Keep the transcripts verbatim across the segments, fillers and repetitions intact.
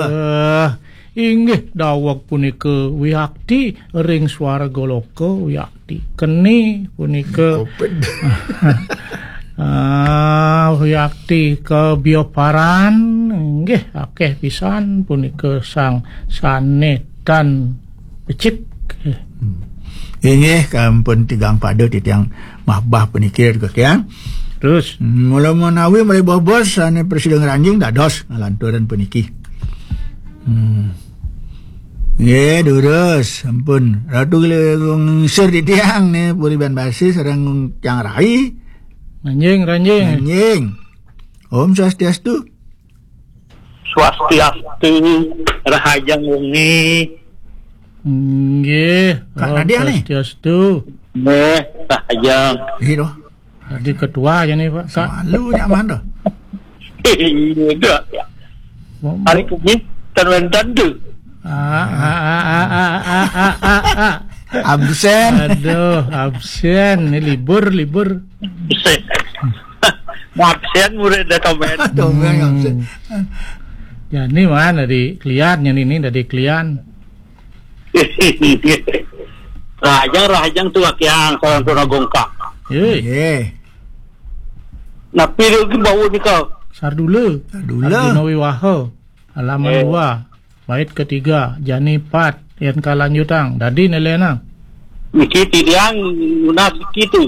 Eh, inggih daweg punika wiakti ring swarga loka wiakti. Keni punika ah, wiakti kabioparan inggih akeh pisan punika sang sane tan becik. Inggih, kampun tigang pada titiang mahbah puniki, Ratu Kakian. Terus? Mula menawi malih bobos ane prasida ngranjing dados ngalanturan puniki. Hmm. Nggih, durus, ampun. Ratu Gung Sir titiang ne Puri Ban Basi sareng Cang Rai. Ranjing, ranjing. Ranjing. Om Swastiastu. Swastiastu, rahajeng wengi. Nggih. Kak Om Nadia nih. Swastiastu. Nggih, rahajeng. Iya doh. Jadi ketua aja nih, Pak. Kak. Malu nyaman doh. Iya doh. Hari ini tan wénten tuh. Ah, ah, ah, ah, ah, ah, ah, ah, ah. Absen. Aduh, absen. Ini libur, libur. Absen. Absen murid dah komen. Komen absen. Jani mana di klian, yang ini dari klian. Rahajeng, rahajeng tuh akiang sareng tuna gongkak. Hei. Nggih. Napi lagi bau nika? Sardula. Sardula. Sardula Wiwaha. Halaman eh. Dua. Bait ketiga, jani pat, yen kalanjutang. Dadi nelena. Niki titiang nunas kitu.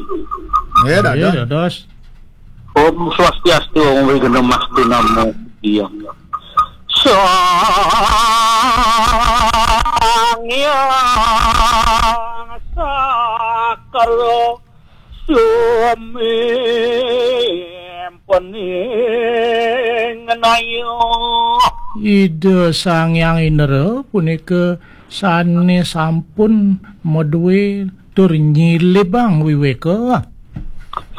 Ya, dados. Dados. Om Swastiastu, Om Wignamastu Namo Buddhaya. Sang Hyang Sakra Sumimpeni ngenayo. Ida Sang Hyang Indra punika sane sampun madue tur nyilibang wiweka.